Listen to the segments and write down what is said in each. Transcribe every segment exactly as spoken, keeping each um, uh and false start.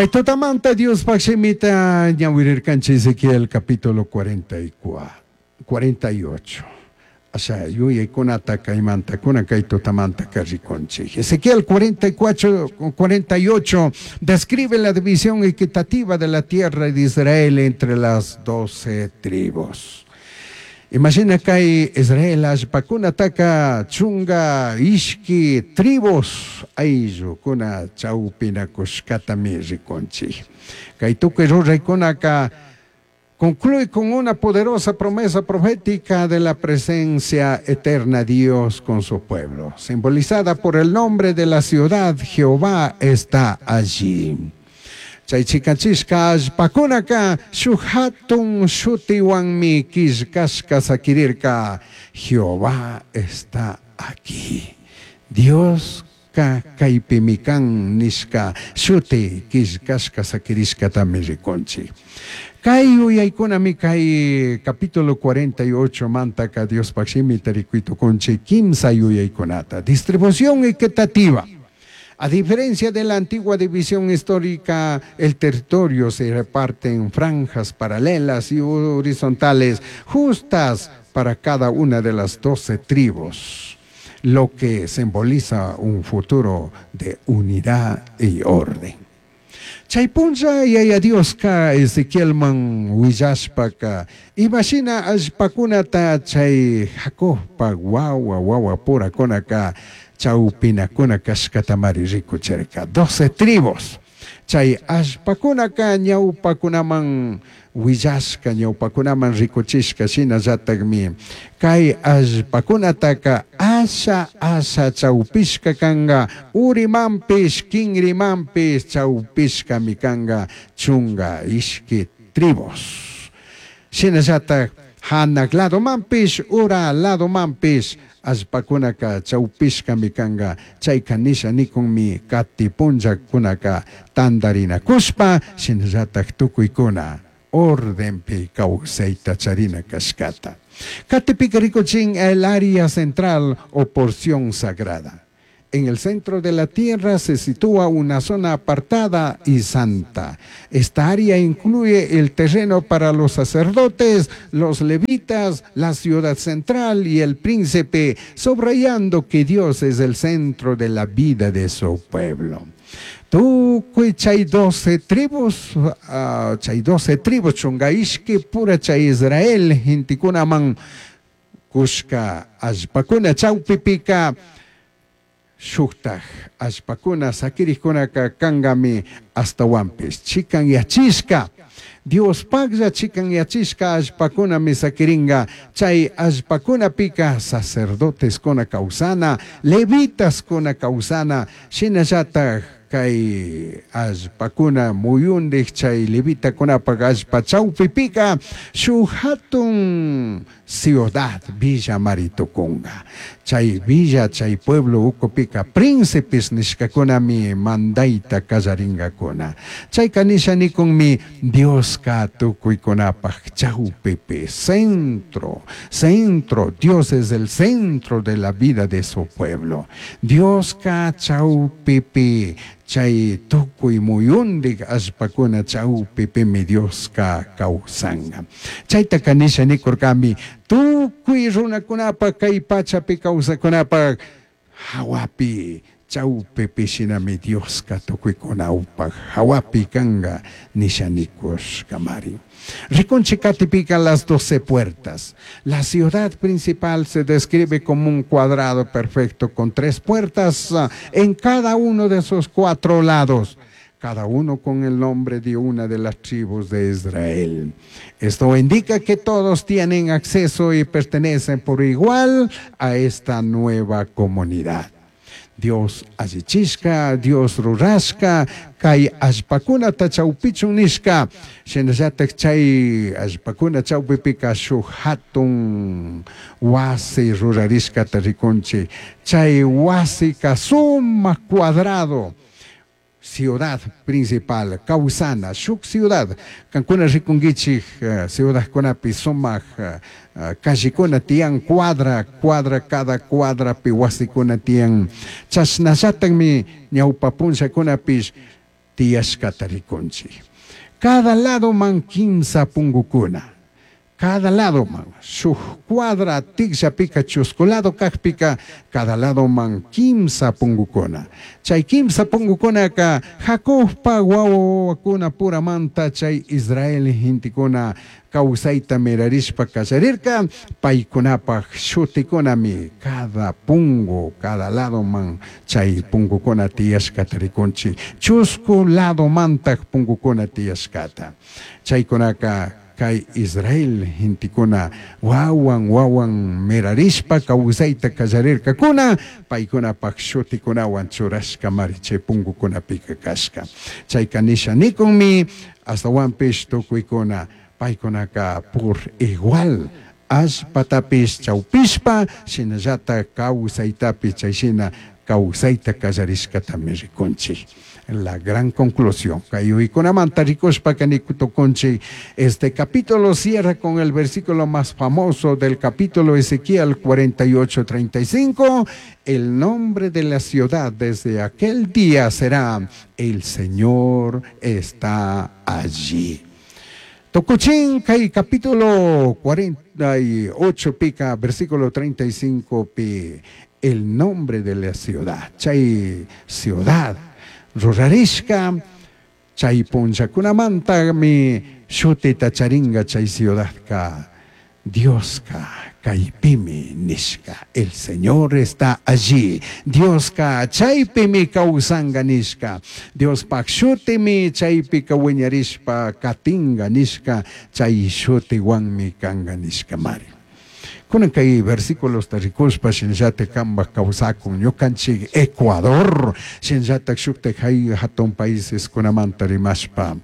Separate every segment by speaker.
Speaker 1: Kay tutamanta Diospaj shimita ñawirirkanchik Ezequiel capítulo cuarenta y cuatro, cuarenta y ocho. Asha yuyaykunata kaymanta kunan kay tutamanta rikunchik. Ezequiel cuarenta y cuatro, cuarenta y ocho describe la división equitativa de la tierra de Israel entre las doce tribus. Imagina kay Israel allpakunataka chunga ishki tribus ayllukuna chawpinakushkatami rikunchik. Kay tukuy ruraykunaka concluye con una poderosa promesa profética de la presencia eterna de Dios con su pueblo, simbolizada por el nombre de la ciudad: Jehová está allí. Chay chikachishka allpakunaka shuk hatun shutiwanmi killkashka sakirirka: Jehová está aquí. Dios ka kaypimi kan nishka shuti killkashka sakirishkatami rikunchik. Kay yuyaykunami kay capítulo cuarenta y ocho mantaka Diospaj shimita rikuy tukunchik kimsa yuyaykunata. Distribución equitativa. A diferencia de la antigua división histórica, el territorio se reparte en franjas paralelas y horizontales, justas para cada una de las doce tribus, lo que simboliza un futuro de unidad y orden. Chay punlla Yaya Dioska Ezequielman willashpaka imashina allpakunata chay Jacobpa wawa wawa purakunaka chawpinakuna kashkatamari rikuchirka. Doce tribus. Chay allpakunaka ñawpakunaman willashka, ñawpakunaman rikuchishka shinallatakmi kay allpakunataka asha asha chawpishka kanka, urimanpish kinrimanpish chawpishkami kanka chunga ishki tribus. Shinallatak hanak ladomanpish ura ladomanpish allpakunaka chawpishkami kanka. Chayka nisha nikunmi kati punllakunaka tantarinakushpa shinallatak tukuykuna ordenpi kawsayta charina kashkata. Katipika rikuchin el área central o porción sagrada. En el centro de la tierra se sitúa una zona apartada y santa. Esta área incluye el terreno para los sacerdotes, los levitas, la ciudad central y el príncipe, subrayando que Dios es el centro de la vida de su pueblo. Tukuy chay doce tribus, uh, chay doce tribus, chunga ishki pura chay Israel, gentekunaman kushka allpakuna chawpipika shuktaj allpakuna sakirikkunaka kankami ashtawanpish chikanyachishka Diospaklla chikanyachishka allpakunami sakiringa. Chay allpakunapika sacerdoteskuna kawsana, levitaskuna kawsana, shinallatak kay allpakuna muyundik chay levitakunapak allpa chawpipika shuk hatun ciudad villa maritukunga. Chay villa, chay pueblo ukupika príncipes nishkakunami mandayta kallaringakuna. Chayka nisha nikunmi Dioska tukuykunapak chawpipi, centro, centro. Dios es el centro de la vida de su pueblo. Dioska chawpipi chay tukuy muyundik allpakuna chawpipimi Dioska kawsanga. Chaytaka nisha nikurkami tukuy runakunapak kay pachapi kawsakunapak hawapi chawpipi shinami Dioska tukuykunapak hawapi kanka nisha nikushkamari. Rikunchik katipika las doce puertas. La ciudad principal se describe como un cuadrado perfecto con tres puertas ah, en cada uno de sus cuatro lados, cada uno con el nombre de una de las tribus de Israel. Esto indica que todos tienen acceso y pertenecen por igual a esta nueva comunidad. Dios allichishka, Dios rurashka, kay allpakunata chawpichun nishka, shinallatak chay allpakuna chawpipika shuk hatun wasi rurarishkata rikunchik. Chay wasika sumak cuadrado, ciudad principal, kawsana, shuk ciudad. Kankuna rikunkichik uh, ciudadkunapi sumak uh, callecuna tiyan, cuadra, cuadra, cada cuadrapi wasikuna tiyan. Chashnallatakmi ñawpa punllakunapish tiyashkata rikunchik. Cada ladoman kimsa pungukuna. Cada ladoman shuk cuadra tikllapika chusku lado kakpika cada ladoman kimsa pungukuna. Chay kimsa pungukunaka Jacobpa wawakuna puramanta chay Israel gentekuna kawsayta mirarishpa kallarirka paykunapaj shutikunami cada pungu cada ladoman chay pungukuna tiyashkata rikunchik. Chusku ladomantaj pungukuna tiyashkata. Chaykunaka kay Israel gentekuna wawan wawan mirarishpa kawsayta kallarirkakuna paykunapaj shutikunawan churashka mari chay pungukunapika kashka. Chayka nisha nikunmi astawanpish tukuykuna paykunaka por igual allpatapish chawpishpa shinallata kawsaytapish chayshina kawsayta kallarishkatami rikunchik. La gran conclusión. Kay uykunamanta rikushpaka nikutukunchik. Este capítulo cierra con el versículo más famoso del capítulo Ezequiel cuarenta y ocho, treinta y cinco. El nombre de la ciudad desde aquel día será: el Señor está allí. Tukuchin kay capítulo cuarenta y ocho pica, versículo treinta y cinco pi, el nombre de la ciudad. Chay ciudad rurarishka, chay punllakunamantami shutita charinga chay ciudadka, Dioska kaypimi nishka, el Señor está allí. Dioska chaypimi kawsanga nishka, Diospaj shutimi chaypika wiñarishpa katinga nishka, chay shutiwanmi kanga nishka mari. Kunan kay versículos ta rikushpa shinallata kambaj kawsakun ñukanchik Ecuador shinallata shuktak hay hatun países kunamanta rimashpa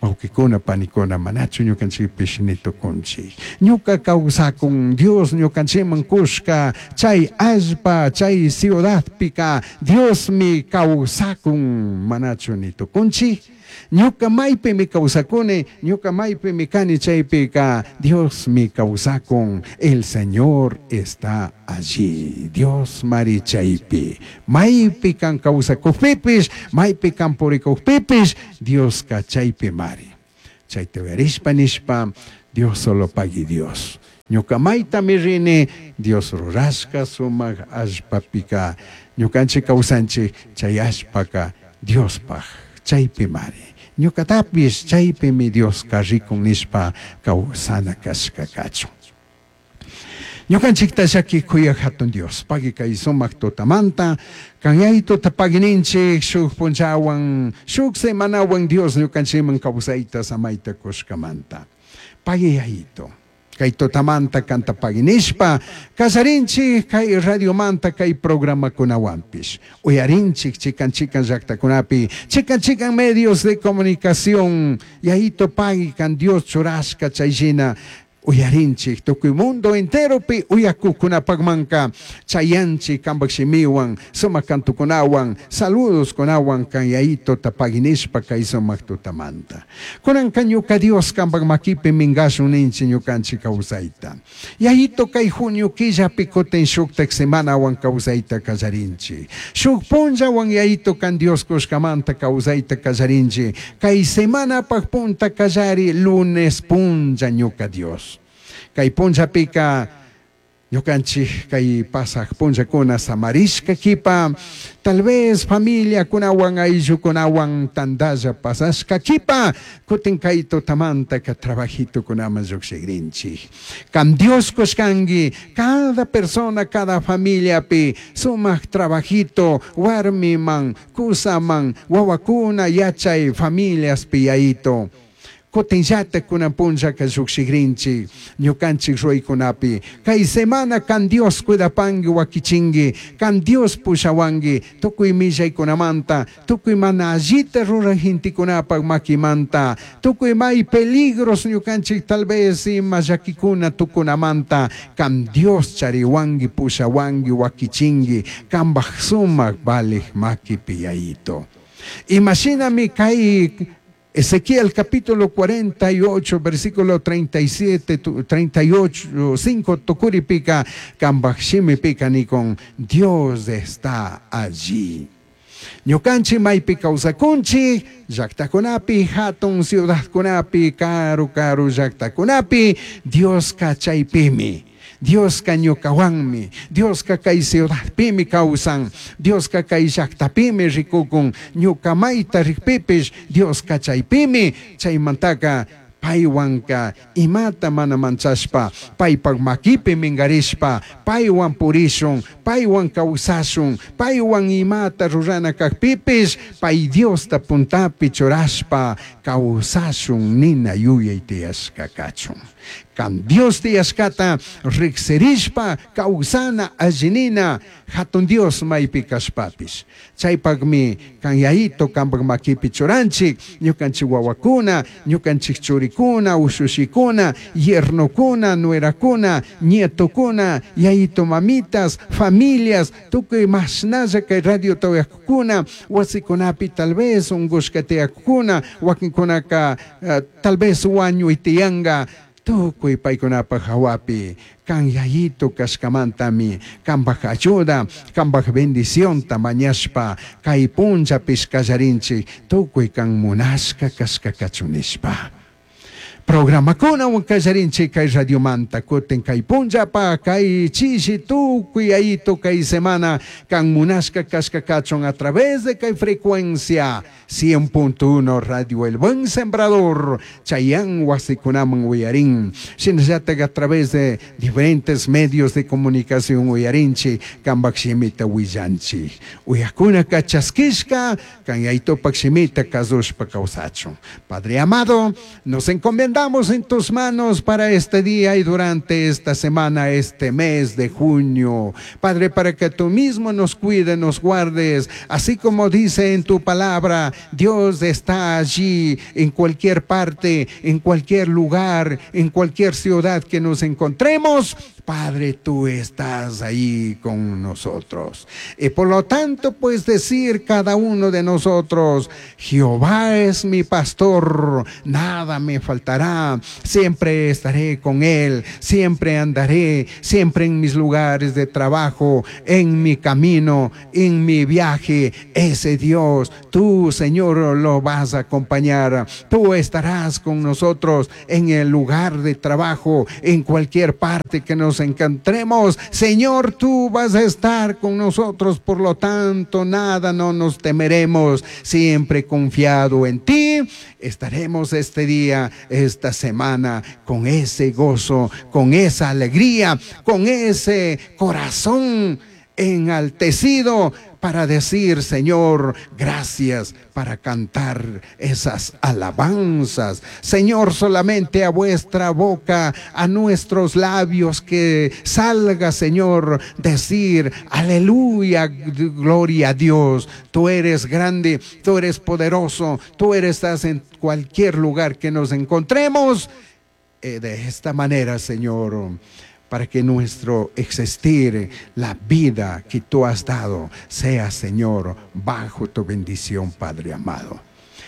Speaker 1: wawqikuna panikuna manachu ñukanchikpish nitukunchik. Ñuka kawsakun Dios ñukanchikman kushka chay allpa chay ciudadpika Diosmi kawsakun manachu nitukunchik. Ñuka maypimi kawsakuni, ñuka maypimi kani chaypika Diosmi kawsakun, el Señor está allí. Dios mari chaypi. Maypi kan kawsakukpipish, maypi kan purikukpipish, Dioska chaypi mari. Chayta uyarishpa nishpa, Dios solo pagui Dios. Ñuka maytami rini, Dios rurashka sumak allpapika, ñukanchik kawsanchik chay allpaka Diospaj chaypi mari. Ñukatapish chaypimi Dioska rikun nishpa kawsana kashka kachun. Ñukanchikta llaki kuyaj hatun Dios, pagui kay sumak tutamanta, kanyaytuta paguininchik shuk punchawan, shuk semanawan Dios ñukanchikman kawsayta samayta kushkamanta. Pagui yayito. Kay tutamanta kanta paguinishpa, kallarinchik kay radiomanta kay programakunawanpish. Uyarinchik chikan chikan llaktakunapi, chikan chikan medios de comunicación, yayito pagui kan Dios churashka chayshina, uyarinchik tukuy mundo enteropi uyakukunapakmanka, chayanchik kanpak shimiwan, sumak kantukunawan, saludos kunawan kan yayito tapaginishpa kay sumak tutamanta. Kunanka ñuka Dios kanpak makipi minkashun ninchik ñukanchik kawsayta. Yayito kay junio killapi kutin shuktak semanawan kawsayta kallarinchik. Shuk punllawan yayito kan Dios kushkamanta kawsayta kallarinchik. Kay semanapak punta kallari lunes punlla ñuka Dios. Kay punllapika ñukanchik kay pasaj punllakuna samarishka kipa, tal vez familia kunawan ayllukunawan tandalla pasashka kipa, kutin kay tutamanta ka trabajito kunaman lluqshikrinchik. Kan Dios kushkanki, cada persona, cada familiapi sumak trabajito, warmiman, kusaman, wawakuna yachay familiaspi yayito. Kutinllata kunan punllaka lluqshikrinchik, ñukanchik ruwaykunapi. Kay semana kan Dios cuidapanki wakichinki, kan Dios pushawanki, tukuy millaykunamanta, tukuy mana allita ruraj gentekunapak makimanta, tukuy may peligros ñukanchik tal vez ima llakikuna tukunamanta, kan Dios chariwanki, pushawanki, wakichinki, kanpaj sumak valej makipi yayito. Imashinami kay Ezequiel capítulo cuarenta y ocho, versículo treinta y siete, treinta y ocho, cinco, tucuripica, kambaj shimipica, ni con Dios está allí. Ñukanchik maypi kawsakunchik llaqtakunapi, hatun ciudadkunapi, karu karu llaqtakunapi, Dioska chaypimi. Dioska ñukawanmi, Dioska kay ciudadpimi kawsan, Dioska kay llaqtapimi rikukun, ñuka mayta rikpipish Dioska chaypimi, chaymantaka paywanka imata mana manchashpa, paypak makipi minkarishpa, paywan purishun, paywan kawsashun, paywan imata rurana kakpipish, pay Diosta puntapi churashpa kawsashun nina yuyay tiyashka kachun. Kan Dios tiyashkata riksirishpa kawsana allinina hatun Dios maypi kashpapish. Chaypakmi kan yayito kanpak makipi churanchik, ñukanchik wawakuna, ñukanchik churikuna, ushushikuna, yernokuna, nuerakuna, nietokuna, yayito mamitas, familias, tukuy mashnalla kay radio tawayakuna, wasikunapi tal vez unkushka tiyakuna, wakinkunaka uh, tal vez wañuy tiyanka, tukuy paykunapaj hawapi kan yayito kashkamantami kanpaj ayuda, kanpaj bendicionta mañashpa kay punllapish kallarinchik tukuy kan munashka kashka kachun nishpa. Programakunawan kallarinchik kay radiomanta kutin kay punllapa kay chishi tukuy yayito kay semana kan munashka kashka kachun a través de kay frecuencia cien punto uno Radio El Buen Sembrador Chayán wasikunaman uyarin shinallatak a través de diferentes medios de comunicación uyarinchik kanpak shimita willanchik uyakuna kachaskishka kan yayitopak shimita kasushpa kawsachun. Padre amado, nos encomendamos en tus manos para este día y durante esta semana, este mes de junio. Padre, para que tú mismo nos cuides, nos guardes, así como dice en tu palabra, Dios está allí en cualquier parte, en cualquier lugar, en cualquier ciudad que nos encontremos. Padre, tú estás ahí con nosotros. Y por lo tanto, puedes decir cada uno de nosotros, Jehová es mi pastor, nada me faltará, siempre estaré con él, siempre andaré, siempre en mis lugares de trabajo, en mi camino, en mi viaje. Ese Dios, tú, Señor, lo vas a acompañar. Tú estarás con nosotros en el lugar de trabajo, en cualquier parte que nos encontremos. Señor, tú vas a estar con nosotros, por lo tanto, nada no nos temeremos. Siempre confiado en ti, estaremos este día, esta semana, con ese gozo, con esa alegría, con ese corazón enaltecido para decir, Señor, gracias, para cantar esas alabanzas. Señor, solamente a vuestra boca, a nuestros labios que salga, Señor, decir, aleluya, gloria a Dios. Tú eres grande, tú eres poderoso, tú eres, estás en cualquier lugar que nos encontremos. Eh, de esta manera, Señor, para que nuestro existir, la vida que tú has dado, sea, Señor, bajo tu bendición, Padre amado.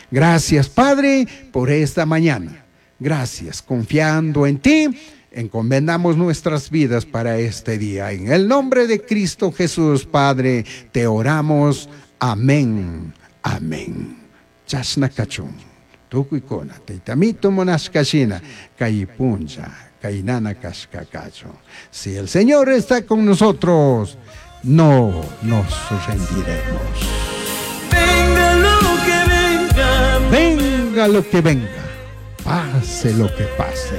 Speaker 1: Gracias, Padre, por esta mañana. Gracias, confiando en ti, encomendamos nuestras vidas para este día. En el nombre de Cristo Jesús, Padre, te oramos. Amén. Amén. Chasna kachun. Tukuykuna, taytamito munashkashina, kay puncha, kainana kashka kachun. Si el Señor está con nosotros, no nos rendiremos.
Speaker 2: Venga lo que venga,
Speaker 1: venga lo que venga, pase lo que pase,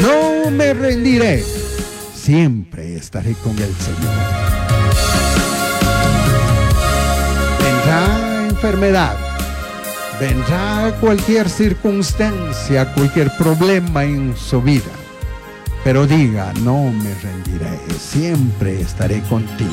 Speaker 1: no me rendiré, siempre estaré con el Señor. Vendrá enfermedad, vendrá cualquier circunstancia, cualquier problema en su vida, pero diga, no me rendiré, siempre estaré contigo.